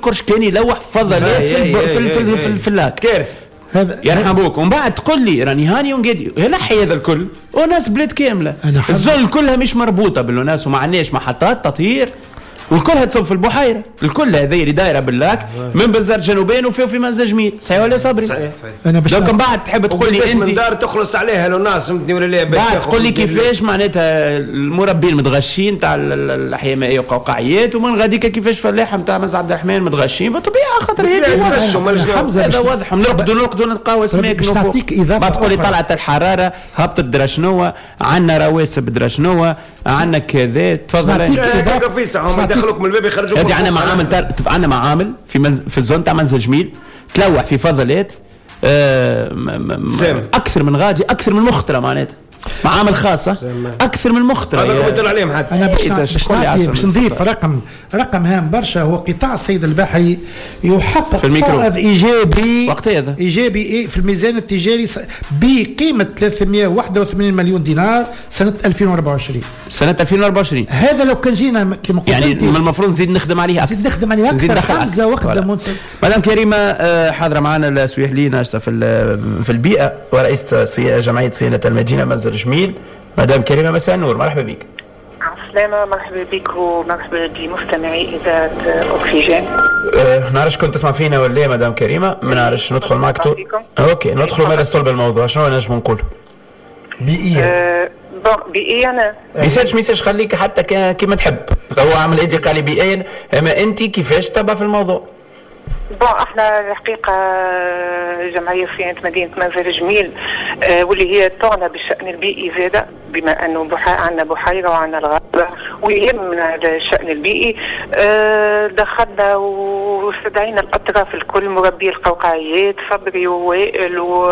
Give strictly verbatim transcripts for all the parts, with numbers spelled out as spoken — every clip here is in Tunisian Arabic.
يسكرش، كان يلوح فضلات في الب... في في, في, في ال lac. كارثة. هذا يرحم بوك. ومن بعد تقول لي راني هاني ونقادي نحي هذا الكل، وناس بلاد كاملة ال zone كلها مش مربوطة بال ONAS، وما عندناش محطات تطهير، والكلها تصب في البحيرة، الكل هذه اللي دايرة بال lac من بنزرت جنوبين وفي وفي منزل جميل. صحيح ولا صبري؟ صحيح صحيح. انا باش donc من بعد تحب تقول لي انت من دار تخلص عليها l'ONAS، فهمتني ولا لا؟ بعد تقول لي كيفاش معناتها المربين المتغشين تاع الاحياء المائية وقوقعيات، ومن غاديك كيفاش فلاحة نتاع منزل عبد الرحمن متغشين بالطبيعة، خاطر هذه واضح، هذا واضح. نرقدوا نرقدوا نلقاو اسماك. باش نعطيك اضافه، بعد تقول لي طلعت الحرارة هبطت درا شنو، عندنا رواسب درا شنو، عندنا كذا. تفضل. يدخلوك من الباب يخرجوك. هذه عندنا معامل تار... عندنا معامل في منز... في ال zone تاع منزل جميل تلوح في فضلات آه... م... م... اكثر من غادي، اكثر من مخطره، معناتها معامل خاصة اكثر من مخطره. هذا قلت عليهم حتى انا باش باش باش نضيف رقم رقم هام برشا، هو قطاع الصيد البحري يحقق فائض ايجابي وقت هذا ايجابي في الميزان التجاري بقيمة ثلاثمية وواحد وثمانين مليون دينار سنة ألفين وأربعة وعشرين. سنة ألفين وأربعة وعشرين هذا لو كان جينا كما قلت يعني من المفروض نزيد نخدم عليها، نزيد نخدم عليها اكثر. حمزة وقت منت... مدام كريمة حاضره معنا السويحلي ناشطة في في البيئة ورئيسه جمعية صيانة المدينة منزل جميل. مدام كريمة مساء النور، مرحبا بك. عسلامة، مرحبا بك ومرحبا بمستمعي إذاعة أكسجين. أه نعرفش كنت تسمع فينا ولا لا مدام كريمة، ما نعرفش. ندخل معك تو... OK ندخل مع صلب الموضوع. شنو نجم نقول؟ بيئيا أه bon بيئيا أنا ميساج ميساج خليك حتى كيما تحب. هو عمل إيدي قال لي بيئيا، أما أنت كيفاش تبع في الموضوع؟ bon احنا الحقيقة جمعية صيانة مدينة منزل جميل اه واللي هي تعنى بالشان البيئي زاده، بما انه عندنا بحيرة وعندنا الغابة ويهمنا الشان البيئي. اه دخلنا واستدعينا الاطراف الكل، مربي القوقعيات صبري ووائل و...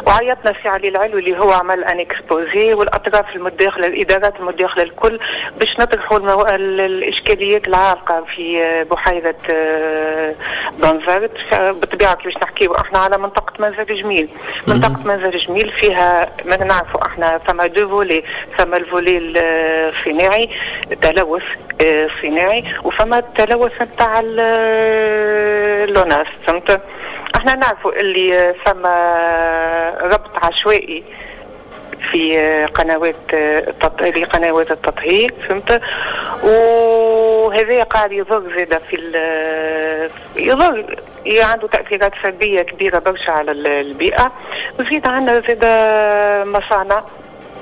وعيطنا سي علي العلوي اللي هو عمل un exposé، والاطراف المتداخله الادارات المتداخله الكل باش نطرحوا المو... الاشكاليات العالقة في بحيرة اه بنزرت. بالطبيعة باش نحكيو احنا على منطقة منزل جميل. منطقة منزل جميل فيها ما نعرفوا احنا فما deux volets، فما ال volet الصناعي التلوث الصناعي، وفما التلوث نتاع l'ONAS. فهمت؟ احنا نعرفوا اللي فما ربط عشوائي في قنوات التطهير، قنوات التطهير، فهمت؟ وهذا قاعد يضر زاده في يضر عنده تأثيرات سلبية كبيرة برشا على البيئة. وزيد عندنا زاده مصانع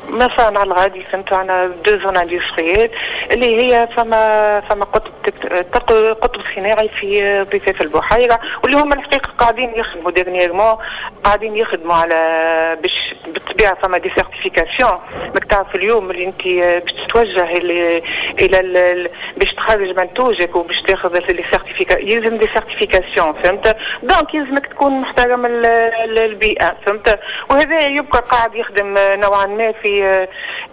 مصانع الغادي، فهمت؟ عندنا deux zones industrielles اللي هي فما فما قطب قطب صناعي في ضفاف البحيرة، واللي هما الحقيقة قاعدين يخدموا dernièrement، قاعدين يخدموا على باش بالطبيعة فما des certifications. ماك تعرف اليوم اللي انت باش تتوجه الى الى باش تخرج منتوجك وباش تاخذ les certificats، يلزم des certifications، فهمت؟ donc يلزمك تكون محترم البيئة، فهمت؟ وهذا يبقى قاعد يخدم نوعا ما في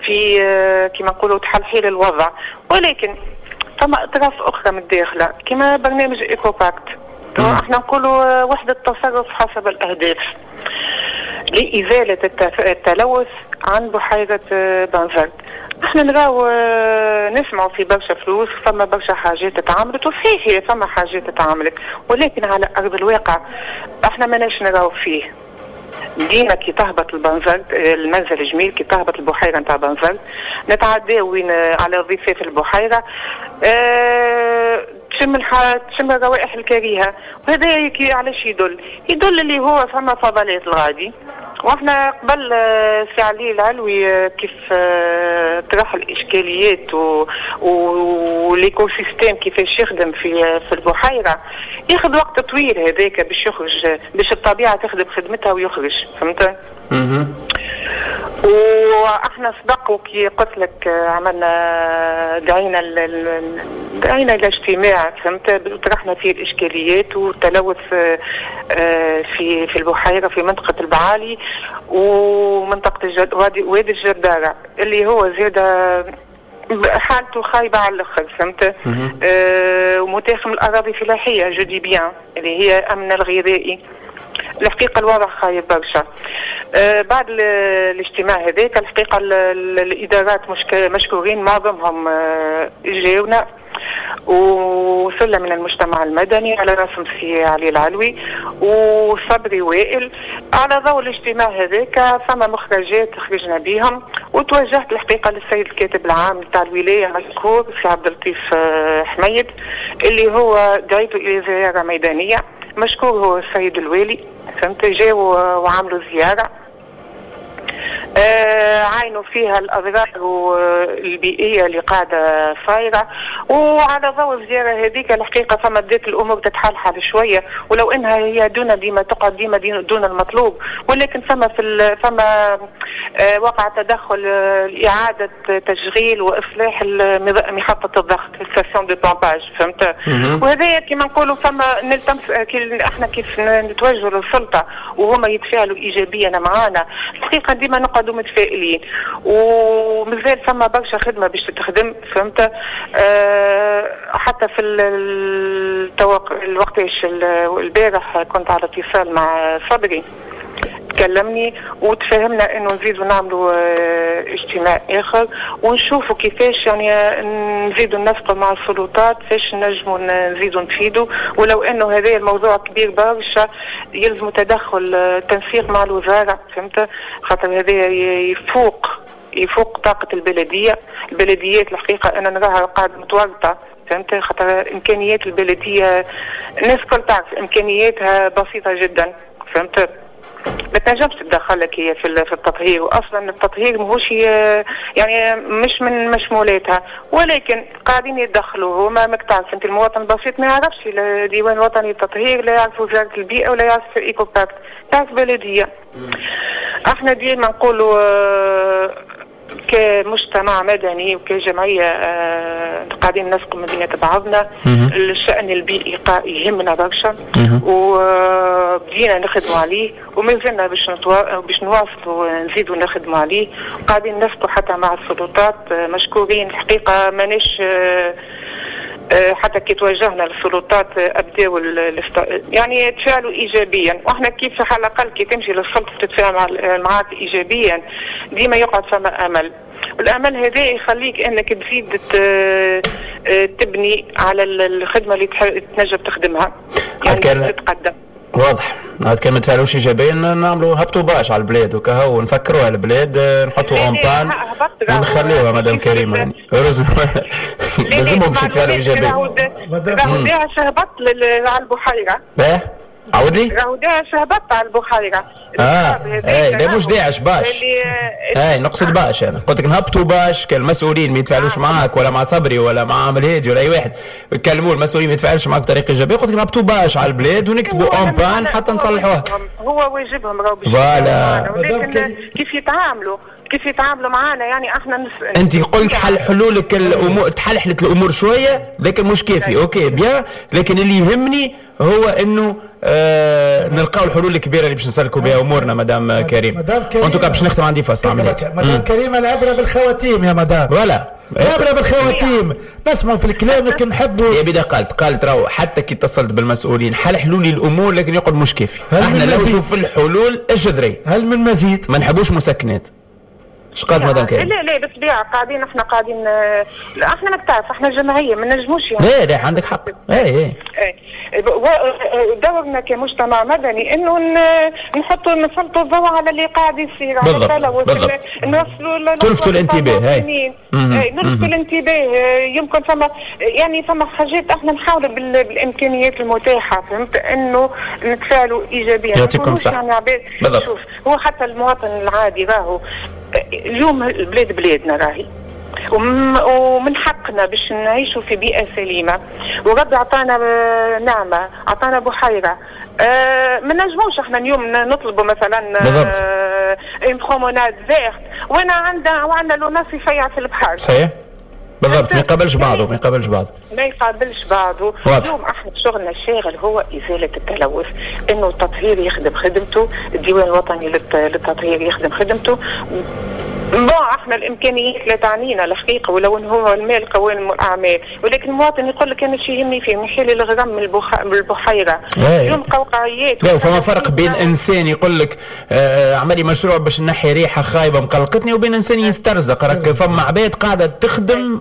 في كما نقولوا تحلحيل الوضع. ولكن فما اطراف اخرى من الداخلة كما برنامج ECOPACT، احنا نقولوا وحده تصرف حسب الاهداف لازالة التلوث عن بحيرة بنزرت. احنا نراو نسمعوا في برشا فلوس، فما برشا حاجات تعاملت، وصحيح هي فما حاجات تعاملت، ولكن على ارض الواقع احنا ماناش نراو فيه. ديما كي تهبط البنزرت المنزل الجميل، كي تهبط البحيرة نتاع بنزرت نتعداو وين على ضفاف البحيرة أه تشم تشم الروائح الكريهة. وهذا علاش يدل؟ يدل اللي هو فما فضلات الغادي. واحنا قبل سي علي العلوي كيف طرح الاشكاليات و l'écosystème كيفاش يخدم في في البحيرة، ياخذ وقت طويل هذاك باش يخرج، باش الطبيعة تخدم خدمتها ويخرج، فهمت؟ واحنا سبق وكي قلت لك عملنا دعينا دعينا الى اجتماع، فهمت؟ طرحنا فيه الاشكاليات والتلوث في في البحيرة في منطقة البعالي ومنطقة الجد وادي وادي الجداره اللي هو زاد حالته خايبة على الاخر، فهمت؟ آه ومتاخم الاراضي الفلاحية je dis bien اللي هي امن الغذائي. الحقيقة الوضع خايب برشا. آه بعد الاجتماع هذاك الحقيقة الادارات مشكورين معظمهم آه جاونا، وسلة من المجتمع المدني على راسهم سي علي العلوي وصبري وائل. على ضوء الاجتماع هذاك فما مخرجات خرجنا بهم، وتوجهت الحقيقة للسيد الكاتب العام تاع الولاية مشكور سي عبد اللطيف حميد اللي هو دعيته الى زيارة ميدانية، مشكور هو السيد الوالي، فهمت، جاوا وعملوا زيارة آه عاينوا فيها الأضرار البيئية اللي قاعدة صايرة. وعلى ضوء الزيارة هذيك الحقيقة فما بدات الأمور تتحلحل شوية، ولو أنها هي دون ديما تقعد ديما دون المطلوب، ولكن فما في فما آه وقع تدخل لإعادة تشغيل وإصلاح محطة الضغط station de pompage، فهمت. وهذا كما نقولوا فما نلتمس احنا كيف نتوجهوا للسلطة وهما يتفاعلوا إيجابيا معانا، الحقيقة ديما نقعدوا متفائلين، ومازال فما برشا خدمة باش تتخدم، فهمت. أه حتى في التوق... الوقتاش البارح كنت على اتصال مع صبري، تكلمني وتفاهمنا انه نزيدوا نعملوا اجتماع اخر ونشوفوا كيفاش يعني نزيدوا ننسقوا مع السلطات فاش نجموا نزيدوا نفيدوا، ولو انه هذا الموضوع كبير برشا يلزم تدخل تنسيق مع الوزارة، فهمت، خاطر هذا يفوق يفوق طاقة البلدية. البلديات الحقيقة انا نراها قاعدة متورطة، فهمت، خاطر امكانيات البلدية الناس الكل تعرف امكانياتها بسيطة جدا، فهمت، ما تنجمش تدخلك هي في التطهير، واصلا التطهير ماهوش يعني مش من مشمولاتها، ولكن قاعدين يتدخلوا هما. ماك تعرف انت المواطن البسيط ما يعرفش لا ديوان الوطني للتطهير، لا يعرف وزارة البيئة، ولا يعرف EcoPact، تعرف بلديه. احنا ديما نقولوا كمجتمع مدني وكجمعية قاعدين نسقوا من بينات بعضنا، الشأن البيئي يهمنا برشا وبدينا نخدموا عليه وما زلنا باش نتوا... باش نواصلوا نزيدوا نخدموا عليه، قاعدين نسقوا حتى مع السلطات مشكورين الحقيقة. ماناش حتى كي توجهنا للسلطات ابداوا يعني تفاعلوا ايجابيا، واحنا كيف على الاقل كي تمشي للسلطة تتفاعل معاك ايجابيا ديما يقعد فما امل، والامل هذا يخليك انك تزيد تبني على الخدمة اللي تنجم تخدمها، يعني تتقدم. واضح. عاد كان ما تفعلوش ايجابيا نعملوا هبطوا bâche على البلاد وكهو، نسكروها البلاد، نحطوا en panne ونخليوها مدام كريمة يعني لازمهم باش يتفاعلوا ايجابيا. راهو داعش هبط على البحيرة. ايه عاود لي؟ راهو داعش هبط على البحيرة. اه اي لا مش داعش bâche. اي نقصد bâche، انا قلت لك نهبطوا bâche كان المسؤولين ما يتفاعلوش معاك ولا مع صبري ولا مع عامل هادي ولا اي واحد، كلموا المسؤولين ما يتفاعلوش معاك بطريقة ايجابية، قلت لك نهبطوا bâche على البلاد ونكتبوا en panne حتى نصلحوها. هو واجبهم راهو باش voilà، ولكن كيف يتعاملوا كيف يتعاملوا معانا يعني احنا نس... انت قلت حل حلولك الامور، تحلحلت الامور شوية لكن مش كافي. OK bien، لكن اللي يهمني هو انه آه نلقاو الحلول الكبيرة اللي باش نسلكوا بها امورنا مدام كريم. مدام كريم en tout cas باش نختم عندي فاصل عمليات. مدام كريم العبرة بالخواتيم يا مدام. voilà العبرة بالخواتيم، نسمعوا في الكلام لكن نحبوا. يا بدا قالت قالت راهو حتى كي اتصلت بالمسؤولين حلحلوا لي الامور لكن يقعد مش كافي. احنا لو نشوف الحلول الجذرية. هل من مزيد؟ ما نحبوش مسكنات. اش قالت مدام كريم؟ لا لا بالطبيعة قاعدين احنا قاعدين، لا احنا ما تعرف احنا جمعية ما نجموش يعني. لا لا عندك حق. اي اي دورنا كمجتمع مدني انه نحطوا نسلطوا الضوء على اللي قاعد يصير، على التلوث، نوصلوا تلفتوا الانتباه. هاي نلفتوا الانتباه. يمكن فما يعني فما حاجات احنا نحاولوا بالامكانيات المتاحة، فهمت، انه نتفاعلوا ايجابيا. يعطيكم صح. يعني عباد شوف هو حتى المواطن العادي راهو اليوم البلاد بلادنا راهي، ومن حقنا باش نعيشوا في بيئة سليمة، وربي عطانا نعمة، عطانا بحيرة. أه ما نجموش احنا اليوم نطلبوا مثلا une promenade verte وانا عندنا وعندنا l'ONAS يفيع في البحر. صحيح بالضبط، ما يقابلش بعضه، ما يقابلش بعضه، ما يقابلش بعضه. اليوم احنا شغلنا الشاغل هو ازالة التلوث، انه التطهير يخدم خدمته، الديوان الوطني للتطهير يخدم خدمته، bon احنا الامكانيات لا تعنينا الحقيقة، ولو انه هو المال قوام الاعمال، ولكن المواطن يقول لك انا شي يهمني فيه نحيل الغرام من البخ... من البحيرة. اليوم قوقعيات. لا فما فرق بين انسان يقول لك آه عملي مشروع باش نحي ريحه خايبة مقلقتني، وبين انسان يسترزق. راك فما عباد قاعدة تخدم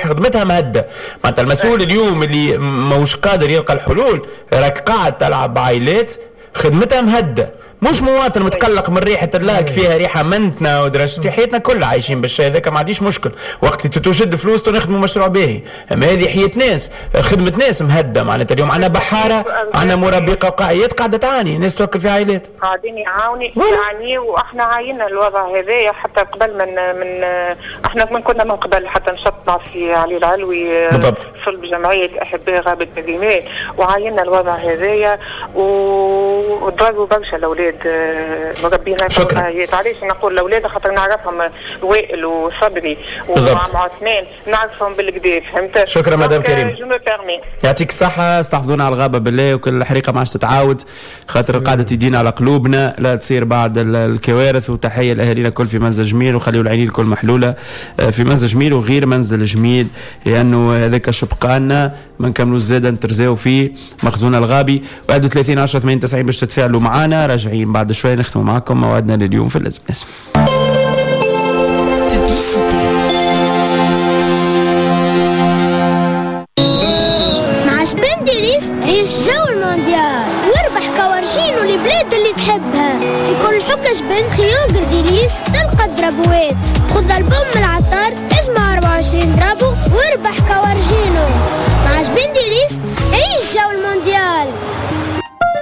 خدمتها مهده، معناتها المسؤول اليوم اللي ماهوش قادر يلقى الحلول راك قاعد تلعب بعائلات خدمتها مهده، مش مواطن متقلق من ريحه ال lac فيها ريحه منتنا ودرجتي حياتنا كلها عايشين بالشيء هذاك، ما عنديش مشكل وقت اللي تشد فلوس نخدموا مشروع باهي، اما هذه حياة ناس، خدمة ناس مهده. معناتها اليوم عندنا بحارة، عندنا مربي قوقعيات قاعدة تعاني، ناس توكل في عائلات قاعدين يعاوني يعاني، واحنا عاينا الوضع هذايا حتى قبل من من احنا من كنا من قبل حتى نشطنا في علي العلوي صلب جمعية احباء غابه الرمال، وعاينا الوضع هذايا وضربوا برشا الاولاد مربينا. شكرا. علاش نقول الاولاد؟ خاطر نعرفهم وائل وصبري وعم عثمان، نعرفهم بالكدا، فهمت؟ شكرا مدام كريم، يعطيك الصحة. استحفظونا على الغابة بالله، وكل الحريقة ما عادش تتعاود، خاطر قاعدة تدينا على قلوبنا لا تصير بعد الكوارث. وتحية لأهالينا الكل في منزل جميل، وخليوا العينين الكل محلولة في منزل جميل وغير منزل جميل، لأنه هذاك شبقانا ما نكملوا الزادة نترزاو فيه مخزون الغابي. واحد وثلاثين عشرة ثمانية وتسعين باش تتفاعلوا معنا. راجعين بعد شوي نختموا معكم موعدنا لليوم في اللازم. مع جبن ديليس عيش جو المونديال واربح كوارجين والبلاد اللي تحبها. في كل حكة جبن خيوغر ديليس تلقى درابوات. خذ البوم من العطار، اجمع أربعة وعشرين درابو واربح كوارجينو. مع جبن ديليس عيش جو المونديال.